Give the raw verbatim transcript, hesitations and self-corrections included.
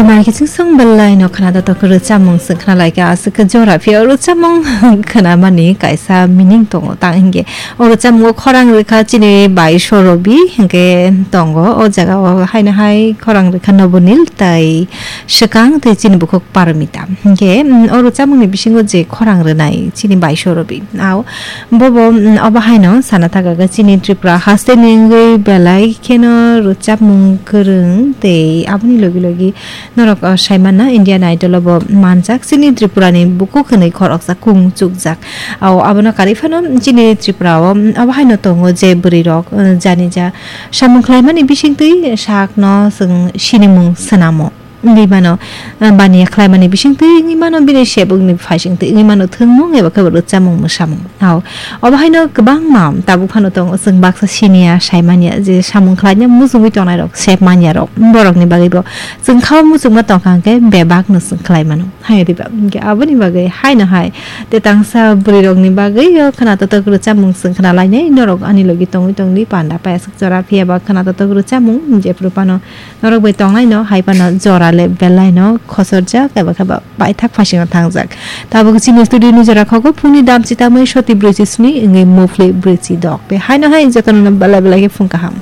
Nai kiching song belai no khna da tok rwchapmung se khna lai ka aswk khe jora phi o rwchapmung khna mani kaisa meaning tongo ta hingke o rwchapmung o khorang rwkha chini bai sorobi hingke tongo o jaga o haino hai khorang rwkha nobonil tai swkang tei chini bukhuk parmita hingke o rwchapmung ni bisingo je khorang rwnai chini bai sorobi ao Bobo obo haino sana thaka chini Tripura haste ni wngwi belai kheno rwchapmung kwrwng tei aboni logi logi norok saimana Indian Idol obo manjak chini Tripura ni bukhuk hwnwi khoroksa kung chukjak. Ao abono karwi phano chini Tripura o obo haino tongo je bwrwi rok jani ja samung khlaimani bisingtwi sakno chwng sinimung swnamo. Wngwi mano baniya khlaimani bisingtwi wngwi mano bini sebwkni phaisingtwi wngwi mano thwngmung eba khe bo rwchapmung mwsamung. Ao obo haino kwbangma tabuk phano tongo chwng baksa siniya saimanya je samung khlaina muchungwi tongnai rok sep manya rok borokni bagwi bo chwng khao muchungma tongkha hwnkhe bebakno chwng khlai mano hai riba hwnkhe aboni bagwi haino hai te tangsa bwrwi rokni bagwi o khwna totok rwchapmung chwng khna lainai norok ani logi tongwi tongwi panda payasuk chora phiyaba khwna totok rwchapmung jephru phano Norok bai tongnaino hai phano jora le belaino khosorjak eba khe ba paithak phaisingno thangjak. Tabuk chini studio ni jora khogo phungni dam chitamwi soti brwichi sni wngwi muphli brwichi dok. Tei haino hai jotono belai belai khe phung kaham.